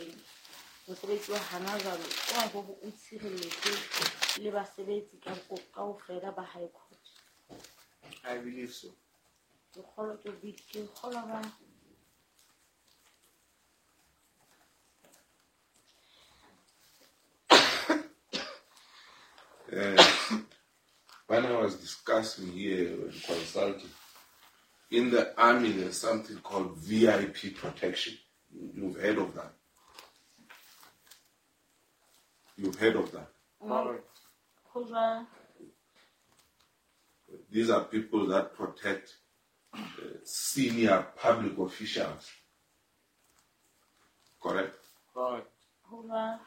teng mosebetsi wa hana jwale wa hore o tshireletse le basebetsi ka kaofela ba high court. I believe so. Ke kgolwa ke ke kgolwa ba. When I was discussing here and consulting, in the army there's something called VIP protection. You've heard of that. You've heard of that. Correct. Ho jwalo. These are people that protect senior public officials. Correct? Correct. Ho jwalo.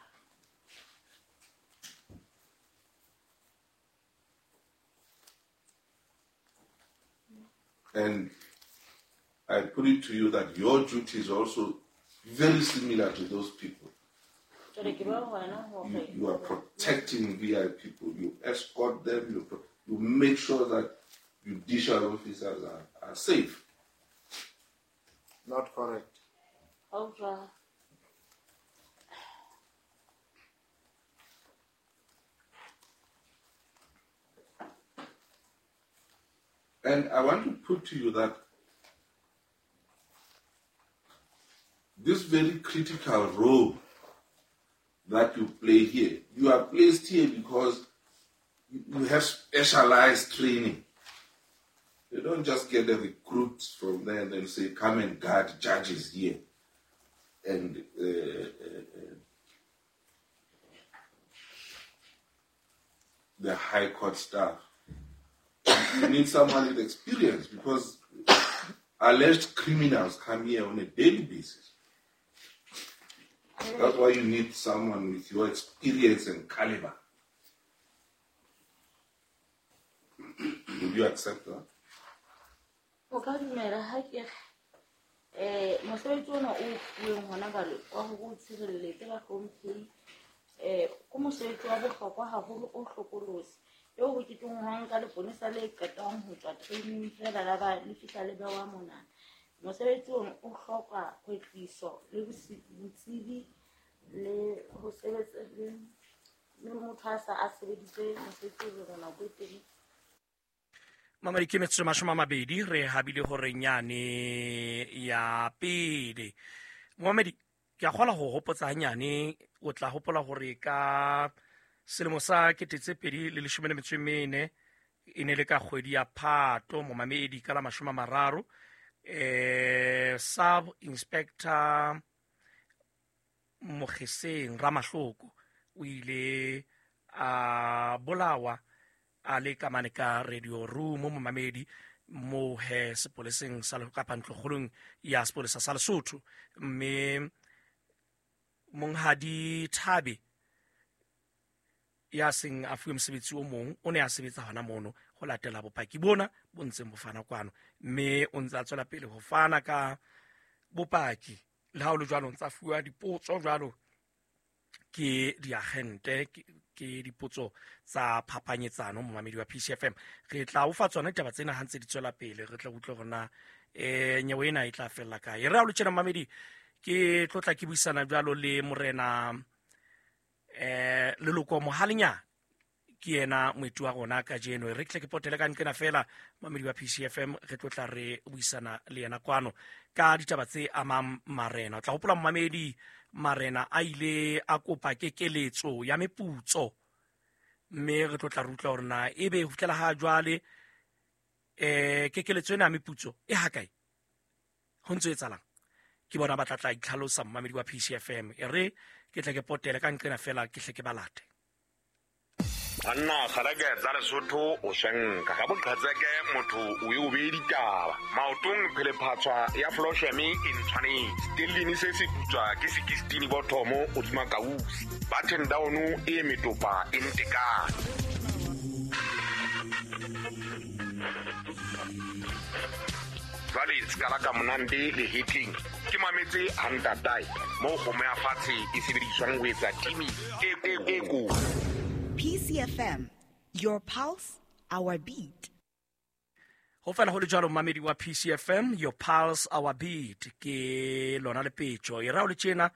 And I put it to you that your duty is also very similar to those people. Jwale ke ba wena hore You are protecting VIP people. You escort them. You make sure that judicial officers are safe. Not correct. Ho jwalo. And I want to put to you that this very critical role that you play here, you are placed here because you have specialized training. You don't just get the recruits from there and then say, come and guard judges here. And the high court staff. You need someone with experience because alleged criminals come here on a daily basis. That's why you need someone with your experience and caliber. Would you accept that? O ka dumela ha ke re, mosebetsi ona o fuweng hona jwale wa hore o tshireletse bahlomphehi, ke mosebetsi wa bohlokwa haholo o hlokolosi. Eo ho ke tlong ho nka leponesa le qetang ho tswa training fela la ba le fihla le bewa mona. Mosebetsi ona o hloka kwetliso le botsebi le ho sebetsa le motho a sa a sebeditse mosebetsi o jwalo nako e telele. Mamadi ke metsotso 20 re habile hore nyane ya pele. Mamadi ke a kgola ho hopotsa hanyane, o tla hopola hore ka selemo sa 2014 e ne le ka kgwedi ya Phato, momamedi ka la 30, Sub Inspector Mogeseng Ramahloko o ile a bolawa a le ka mane ka radio room momamedi mo he sepoleseng sa kapa ntlokgolong ya sepolesa sa Lesotho. Mme Monghadi Thabe ya seng a fuwe mosebetsi o mong o ne a sebetsa hona mono ho latela bopaki bona bo ntseng bo fana kwano, mme o ntse a tswela pele ho fana ka bopaki. Le ha ho le jwalo, o ntse a fuwa dipotso jwalo ke diagente, ke dipotso tsa phapanyetsano momamedi wa PCFM. Re tla o fa tsona ditaba tsena ha ntse di tswela pele, re tla utlwa hore na nyewe ena e tla fella kae. Re ha o le tjena momamedi, ke tlotla ke buisana jwalo le morena Leloko Mohalenyane, ke yena moeti wa rona kajeno. Re tle ke potele ka nqena fela momamedi wa PCFM, re tlotla re buisana le yena kwano ka ditaba tse amang marena. O tla hopola momamedi, marena a ile a kopa kekeletso ya meputso, mme re tlotla re utlwa hore na ebe ho fihlela ha jwale kekeletso ena ya meputso e hakae, ho ntso etsahalang. Ke bona ba tla tla itlhalosa momamedi wa PCFM. E re ke tle ke potele ka nqena fela, ke hle ke ba late. Banna kgalake tsa Lesotho o shenka ga boqhetseke motho o e o beye ditaba. Maotong phelephatswa ya Flosheme e ntshwanetse. Stellini se se putswa ke 16 bothomo hodima kausi. Button down e metopa e ntekane. Jwale sekala ka monande le heating. Ke mametse ha ntatae moo kgomo ya fatshe e sebediswang ho etsa timi e ko. PCFM, your pulse, our beat. Ho fela ho le jwalo momamedi wa PCFM, your pulse, our beat. Ke lona lepetjo. E ra o le tjena